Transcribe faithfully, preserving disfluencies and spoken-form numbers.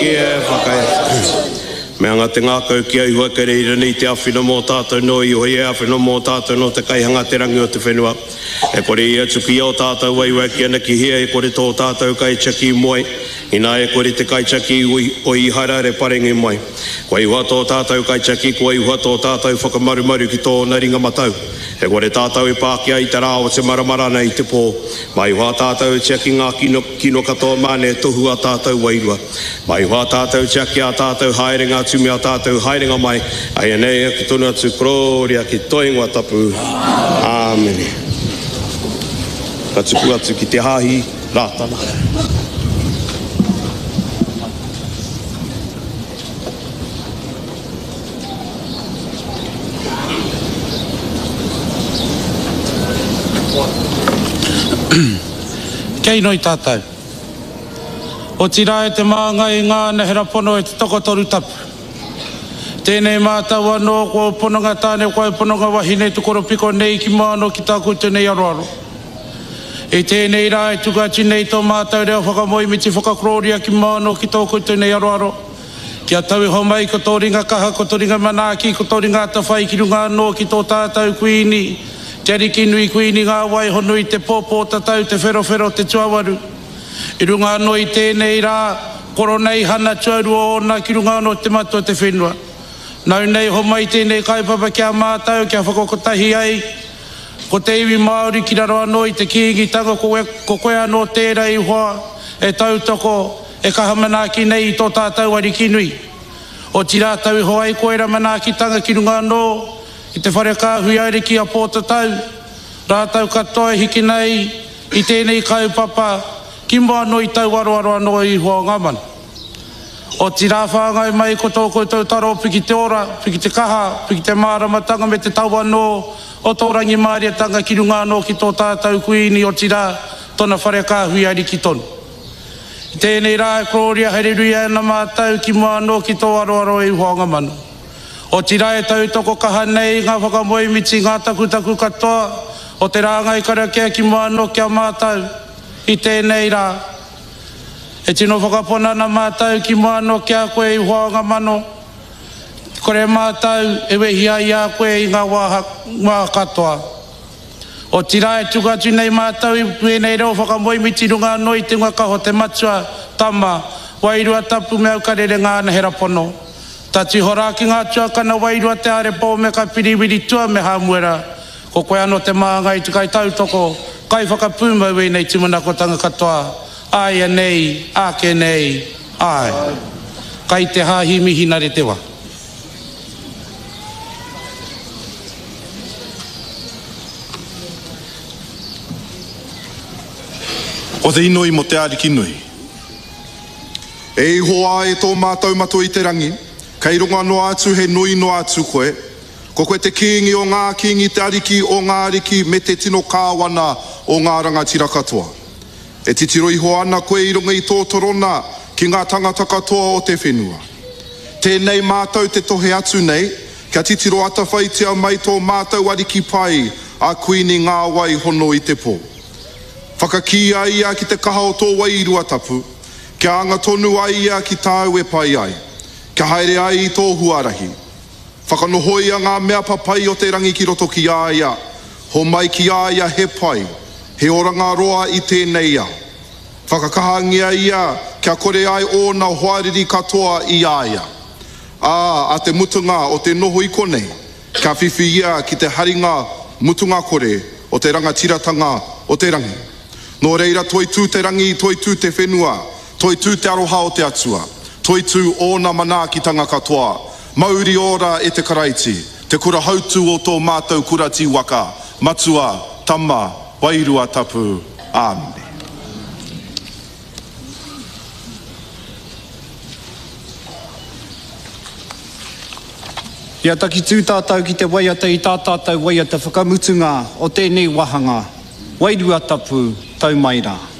ki e whakae. Me anga te ngākau ki a Ihowa kei reira nei te āwhina mō tātou nō Ihowa i āwhina mō tātou nō te kaihanga te rangi o te whenua. E kore ia tuku i ō tātou waewae ki ana ki hea e kore tō tātou kaitiaki moe, inā e kore te kaitiaki o Īharaira e parenge mai. Kua Ihowa tō tātou kaitiaki, kua Ihowa tō tātou whakamarumaru ki tōna ringa matau. E kore tātou e pākia i te rā o te maramarana i te pō. Mai Ihowa tātou e tiaki ngā kino, kino katoa māne e tohu a tātou wairua. Mai Ihowa tātou tiaki a tātou haerenga atu me a tātou haerenga mai. Ai nei e ki tonu atu kororia ki tō ingoa tapu. Āmene. Ka tuku atu ki te hāhi Rātana. Kei noi tātou. Otirā e te māngai i ngā anahera pono e te tokotoru tapu. Tēnei mātou anō ko pononga tāne ko pononga wahine te koropiko nei ki mua anō ki tā koutou nei aroaro. I tēnei rā e tuku atu nei tō mātou reo whakamoemiti whakakorōria ki mua anō ki tō koutou nei aroaro. Kia tau iho mai ko tō ringa kaha, ko tō ringa manaaki, ko tō ringa atawhai ki runga anō ki tō tātou kuini. Te Ariki nui kuini ngā wai honui te pōpō tatau te wherowhero te tuawaru. I runga anō i tēnei rā, koroneihana tuarua ōna ki runga anō te matua te whenua. Nau nei homai tēnei kaupapa ki a mātou kia whakakotahi ai ko te iwi Māori ki raro anō i te Kīngitanga ko, ko koe anō tērā i hoa e tautoko e kaha manaaki nei i tō tātou Ariki nui. Otirā tau iho ai koera manaakitanga ki runga anō i te whare kāhui ariki a Pōtatau, rātou katoa e hiki nei i tēnei kaupapa ki mua anō i tau aroaro anō i hoa o ngā manu. Otirā whāngai mai ko tō koutou taro piki te ora, piki te kaha, piki te māramatanga me te tau anō o tō rangimārietanga ki runga anō ki tō tātou kuini otirā tōna whare kāhui ariki tonu. I tēnei rā e korōria haereruia ana mātou ki mua anō ki tō aroaro e hoa o ngā manu. Otirā e tautoko kaha nei ngā whakamoemiti ngā takutaku katoa o te rāngai karakia ki mua anō ki a mātou i tēnei rā. E tino whakapona ana mātou ki mua anō ki a koe i hoa o ngā mano. Kore mātou e wehi ai a koe i ngā wā, wā katoa. Otirā e tuku atu nei mātou i wēnei reo whakamoemiti runga anō i te hunga kaho te matua, tama, wairua tapu me aukarere ngā anahera pono. Tati hora ki ngā tuakana wairua te arepo me ka piriwiri tua me Hāmuera. Ko koe anō te māngai te kai tautoko, kai whakapūmau wēnei tūmanakotanga katoa. Aia nei, ake nei, ai. Kai te hāhi mihinare te wā. Ko te inoi mo te Ariki nui. E Ihowa e tō mātou matua i te rangi, kei runga noa atu he nui noa atu koe. Ko koe te kīngi o ngā kīngi, te ariki o ngā ariki, me te tino kāwana o ngā rangatira katoa. E titiro iho ana koe i runga i tō torona ki ngā tangata katoa o te whenua. Tēnei mātou te tohe atu nei, kia titiro atawhaitia mai tō mātou ariki pai a Kuini Ngā Wai Hono i te pō. Whakakīia ia ki te kaha o tō wairua tapu, kia anga tonu ai ia ki tāu e pai ai, kia haere ai i tō huarahi. Whakanohoia ngā mea papai o te rangi ki roto ki a ia, homai ki a ia he pai, he oranga roa i tēnei ao. Whakakahangia ia kia kore ai ōna hoariri katoa i a ia. Ā, a te mutunga o te noho i konei, kia whiwhi ia ki te haringa mutunga kore o te rangatiratanga o te rangi. Nō reira toitū te rangi, toitū te whenua, toitū te aroha o te Atua, toitū ōna manaakitanga katoa, mauri ora e te Karaiti, te kura hautu o tō mātou kura tīwaka, matua, tama, wairua tapu. Āmine. Ia takitū tātou ki te waiata i tā tātou waiata whakamutunga o tēnei wāhanga, Wairua Tapu, tau mai rā.